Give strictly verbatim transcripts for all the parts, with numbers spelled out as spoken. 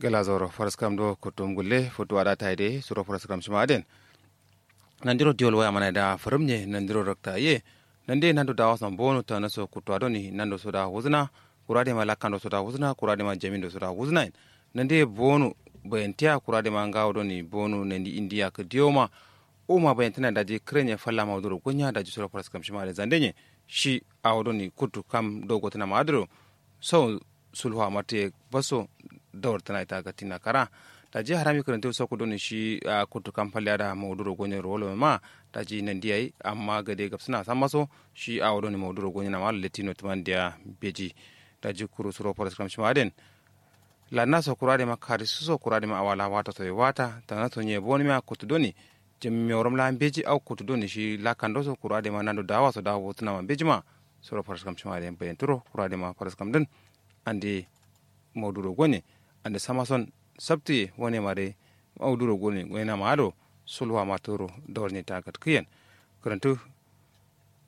Gla zauro faraskam do kuttum gulle futuwa da tayi de suro faraskam shima aden. Nandiro diwol waya mana da farum nye nandiro rakta ye. Nande nando dawa son bonu ta naso kutuwa doni nando soda wuzna. Kura de ma lakando soda wuzna kura de ma jamindo soda wuzna. Nande bonu bayantiya kura de ma ngawo doni bonu nandi indiya ka diyo ma. Uma bayantina daji krenye falla ma wuduro gonya daji suro faraskam shima aden zande nye. Shi awo doni kutu kam do gotna ma adro. Sau sulhuwa marte baso dawar tana ita gatina kara. Daji harami kirintu soku doni shi a kutu kam falle ada mauduro gonye rolo ma. Daji nandi yayi amma gade gabsina sammaso shi awo doni mauduro gonye na ma letino tuman diya. Beji daji kuru suro faraskam shima aden. Lanna so kura de ma kari suso kura de ma awala wata so wata tana so nye boni ma kutu doni. Jimmi orom la beji au kutu doni shi lakando so kura de ma nando dawa so dawa botuna ma beji ma. Suro faraskam shima aden bayanturo kura de ma faraskam din. Ande mauduro gone. Ande samason sabtiye wane mare. Mauduro gone gone na maado. Sulwa maturo dawar ne ta gatkiyen. Kirintu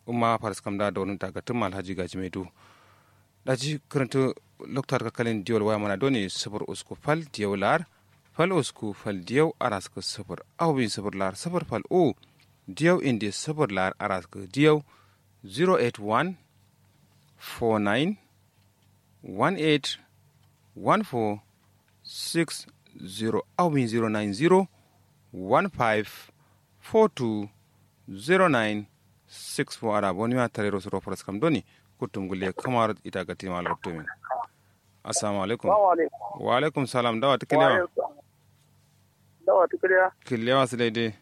umma faraskam da dawar ne ta gatkin ma alhaji gaji mai du. Daji kirintu loktar kakalin diyol waya mana doni sufur usku fal diyau lar. Fal usku fal diyau araska sufur. Au bin sufur lar sufur fal u. Diyau indi sufur lar araska diyau. Zero eight one four nine one eight one four six zero awin zero nine zero one five four two zero nine six four ara boni ma tarero suro faraskam doni. Kuttum gulle kamar ita gati ma lokto min. Assalamu alaikum. Wa alaikum salam dawa tikiliya. Dawa tikiliya. Kiliya wasu daidai.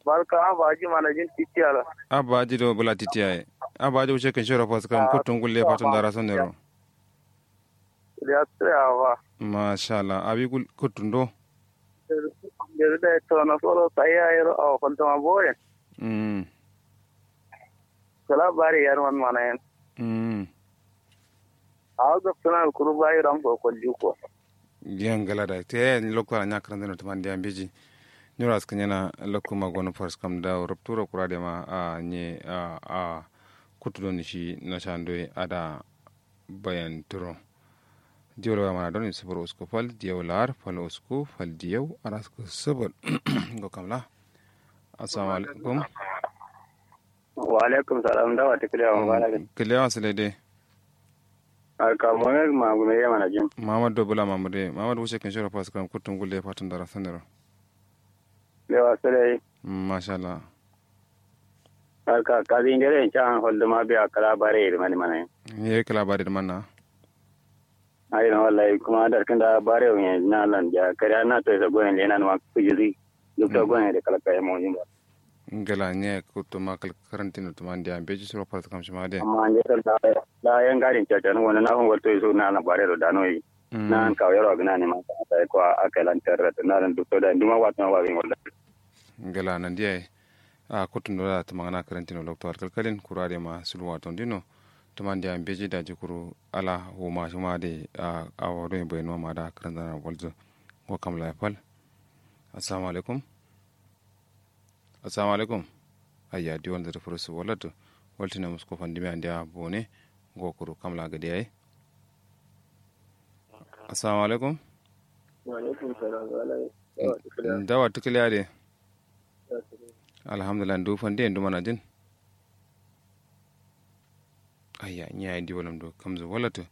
Barka abba aji manajin titiya la. Abba aji do bula titiya ye. Abba aji wuce kan shiro fas kam kutun gulle fatun dara sonero. Ya tsaya ba. Masha Allah abi kutun do. Yanzu da ya tsoro na tsoro sai ya yi ro'a wa kwantama boye. Mm. Kala bari yar man mana yan. Mm. Awo gabsuna kuru bayi ram ko kolju ko. Diyan gala da te yayi lokko ala nya karanta no tumandi ya mbeji. Nyura askan yana lokko ma gono fars kam da rupturo kura de ma a nye a a kutu don shi na shandoi ada bayan turo. Diyau la waya mana don sufur usku fal diyau lar fal usku fal diyau araska sufur. Go kamla. Assalamu alaikum. Wa alaikum salam dawa tikiliya wa bala. Kiliya wa sile de. Alka mohammed mamudu me yamana jin. Muhammad do bula mamudu muhammad wuce kan shiro fas kan kutun gulle fatun dara sanero. Lewa sile. Masha Allah. Alka kazi ndere en can holdo ma be akala bare ir mani mana. Ye kala bare ir mana. Ayi na wallahi kuma dar kanda bare o yen na lan ja kare na to sa goyen le nan ma kujiri. Duk to goyen de kala kay mo jin ba. Ngala nye kutuma kal karantino tumandi ya mbeji suro fara kam shima de. Amma nde to da da yan garin caca no wona na hon walto so na na bare do dano yi. Na an kawo yaro gna ne ma sai ko aka lan tarra na ran duk to da nduma watno wa bin walla. Ngala nan diya a kutundo da tumangana karantino lokto alkalkalin kura de ma sulwa tondino. Tumandi ya mbeji daji kuru ala huma shima de a awo do yin bayano ma da karantana walzo. Ngo kam la fal. Assalamu alaikum. Assalamu alaikum. Ayya diwon zata furo su walatu. Walti na musko fandimi andiya bone. Ngo kuru kamla gade yayi. Assalamu alaikum. Wa alaikum salam. Dawa tukiliya de. Alhamdulillah ndu fande ndu mana jin. Ayya nyi yayi ndi wallam do kamzu walatu.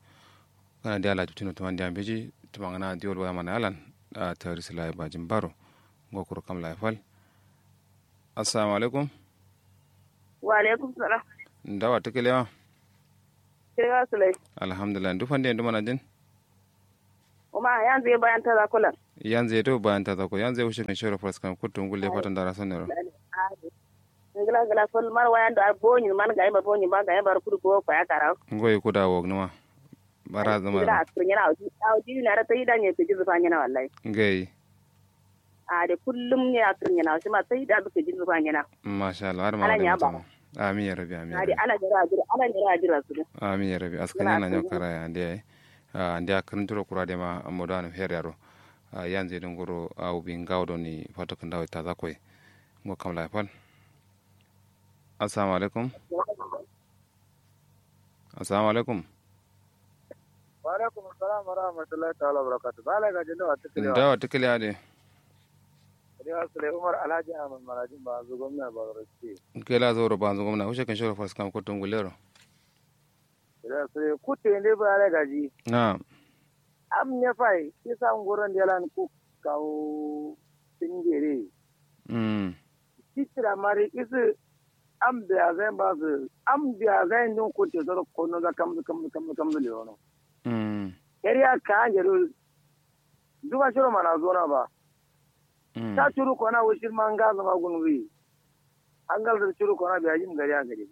Kana de ala tutino tumandi ya mbeji tumangana diwal waya mana yalan. A tari sila ya bajin baro. Ngo kuro kamla ya fal. Assalamu alaikum. Wa alaikum salam. Ndawa tukelewa. Kewa sulai. Alhamdulillah ndu fande ndu mana jin. Uma yanzu ye bayan taza kulan. Yanzu ye to bayan taza ko yanzu ye wushe kan shoro faraskam kuttu ngulle fatan dara sonero. Ngla ngla fol mar wayan do bonyi man gayi ma bonyi ma gayi bar kudu go ko ya karaw. Ngoyi kuda wog numa. Bara zama. Ngla askrin yana awji awji na ra tayi da nye ke jizu fa nyana wallahi. Ngai. A de kullum nye askrin yana awji ma tayi da ke jizu fa nyana. Masha Allah har ma. Amin ya rabbi amin. A de ala nyara ajira ala nyara ajira su. Amin ya rabbi askrin yana nyo karaya de. Ande a kǝrǝntǝro kura dema modo anǝm her yaro. Yanzu ye dǝ nguro awo bi ngawo doni fato kǝndawo taza koye. Ngo kamla ye fal. Assalamu alaikum. Assalamu alaikum. Alaikum salam wa rahmatullahi ta'ala wa barakatuh. Ba lai gaji da wata kiliya. Da wata kiliya de. Kiliya sule umar alhaji ahmad marajin ba zu gwamna ba zoro ce. Kela zoro ba zu gwamna wuce kan shoro fas kam kutum gulero. Kiliya sule kutu inde ba lai gaji. Na. Am ne fai isa nguron delan ku kawo singere. Mm. Sitira mari isi am biya zai ba su am biya zai ndun kutu soro kono za kamzu kamzu kamzu kamzu leono. Mm. Yariya ka an jeru duba shiro mana zona ba. Mm. Ta curu kona wushir ma nga zama gunwi. An galzar curu kona biya jim gari a gari.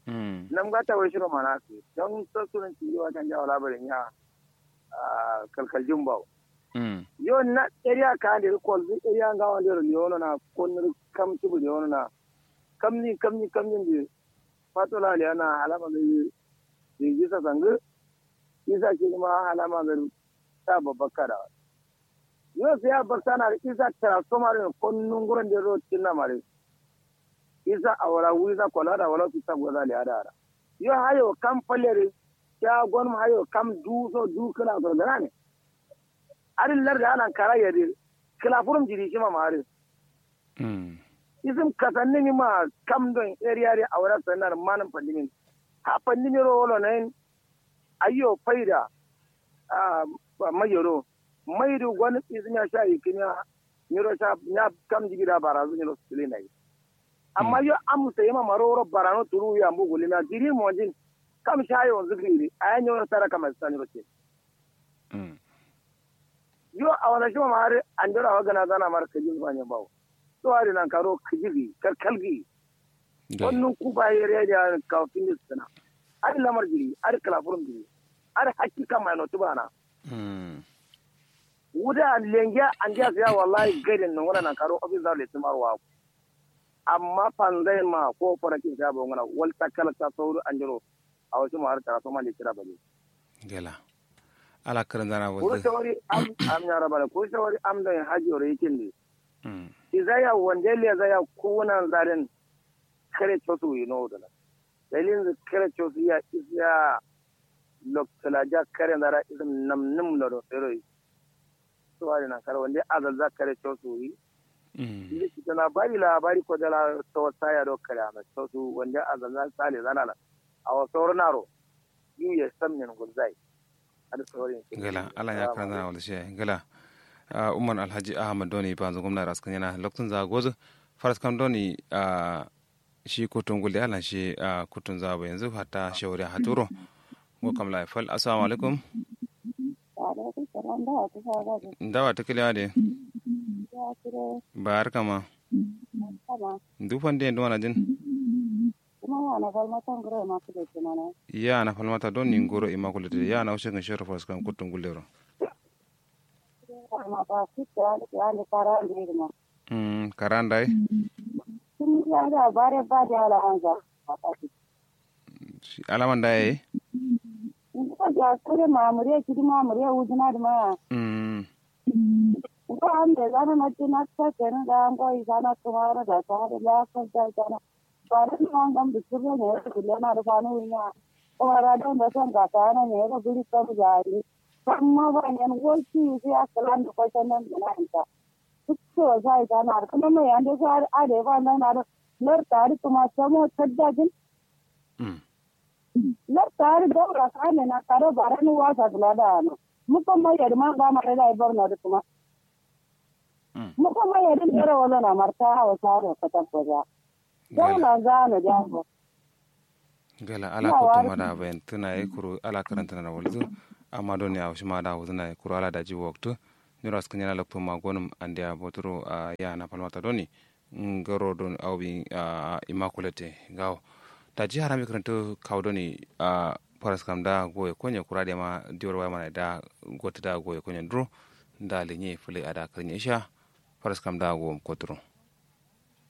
Mm. Nam gata wai shiro mana su don sassunan ciri wa kan jawo labarin ya. Ah, kalkal jin bawo. Mm. Yo na area ka ande kol zu area nga wande ro yono na kon kam tubu yono na. Kamni kamni kamni ndi. Fatola le ana alama zai. Isa sangu. Isa shi ma alama zai. Ta babakka da. Yo sai ya bakta na isa transformer ne kon nunguran da ro cinna mare. Isa awara wiza kola da wala su ta goza le ada ara. Yo hayo kam falere. Ya gonum hayo kam du so du kala so gana ne. Adin lar da nan kara yade. Kala furum jiri shi ma mare. Mm. Isim kasanni ni ma kam don area de awara sanar manin pandemic. Ha pandemic ro wolo nayin. Ayyo faida. Ah, mayoro. Maidu gwani isim ya sha ikimiya. Nyiro sha nya kam jigi da barazu nyiro sili nayi. Amma yo am sai ma maroro barano turu ya mbu gulina jiri monjin. Kam sha yo zikri. Aya nyiro tara kama sani roke. Mm. Yo a wani shi ma mari an jira wa gana zana mara kajin zuwa ne bawo. So ari nan karo kajigi karkalgi. Wannan ku ba yare da ka fini suna. Ari lamar jiri ari kalafurum jiri. Ari hakki kan mai notu bana. Mm. Wuda lengiya an jiya siya wallahi gaidin nan wannan nan karo ofis da letin marwa. Amma fanzai ma ko farakin sa ba ngana wal takala ta sauru an jiro. A wasu ma'ar tara soma ne kira bane. Gela. Ala karin zana kuru wazir shawari am am ya rabana kuru shawari am don haji ore yakin ne. Mm. Izaya wande le zaya kunan zarin. Kare cosu yi no dana. Dalilin kare cosu ya isya. Loktala ja kare zara isim nam nim lodo fero yi. Suwari nan kare wande azalza kare cosu yi. Mm. Inde kitana bari la bari ko dala to saya do kare ama cosu wande azalza sale zana la. Awa soro naro. Yu ye sam nyen gulzai. Ada soro yin gela ala ya karan zana wala shi gela. Ah, umar alhaji ahmad doni banzu gwamna raskan yana lokacin za gozu. Faras kam doni ah, shi kutun gulde alan shi ah, kutun za ba yanzu hatta shawari haturo. Ngo kam la fal assalamu alaikum. Alaikum salam. Dawa ta kiliya de. Ba har kama. Dufan de duwana jin. Kuma ya na falmata ngoro immaculate mana. Ya na falmata don ni ngoro immaculate ya na ushe kan shoro fas kan kutun gulde ro. Mm, karandai. Alaman da yayi. Kure mamuriya kidi mamuriya wuzuna dima. Mm. Ngo ambe zana na tina sa kene da ngo izana kumara da sa da la sa da zana. Bare ni wangam dukure ne kule na da fanu winya. Kumara da nda san ga sana ne ga biri kam jari. Kamma ba nyen wo ki si akalan da kwasan nan na anta. Tukso sai ta na kuma mai ande sa ade ba nan na lar tari kuma samo taddajin. Mm. Lar tari daura kane na karo barani wasa kula da ano. Muko mai yadi ma ga mare da ibar na kuma. Mm. Muko mai yadi karo wala na marta hawa saro katan koja. Daula zano jango. Gala ala kuttu ma da bayan tuna ye kuru ala karanta na walzu. Amma doni a wushi ma da wuzu na ye kuru ala daji waktu. Nyura skin yana loktu ma gonum andiya boturo a ya na palmata doni. Ngaro don awbi a immaculate gawo. Daji harami karanta kawo doni a faras kam da goye konye kura de ma diwar waya mana da gotu da goye konye duro. Da linye fule ada karnya isha. Faras kam da goye koturo.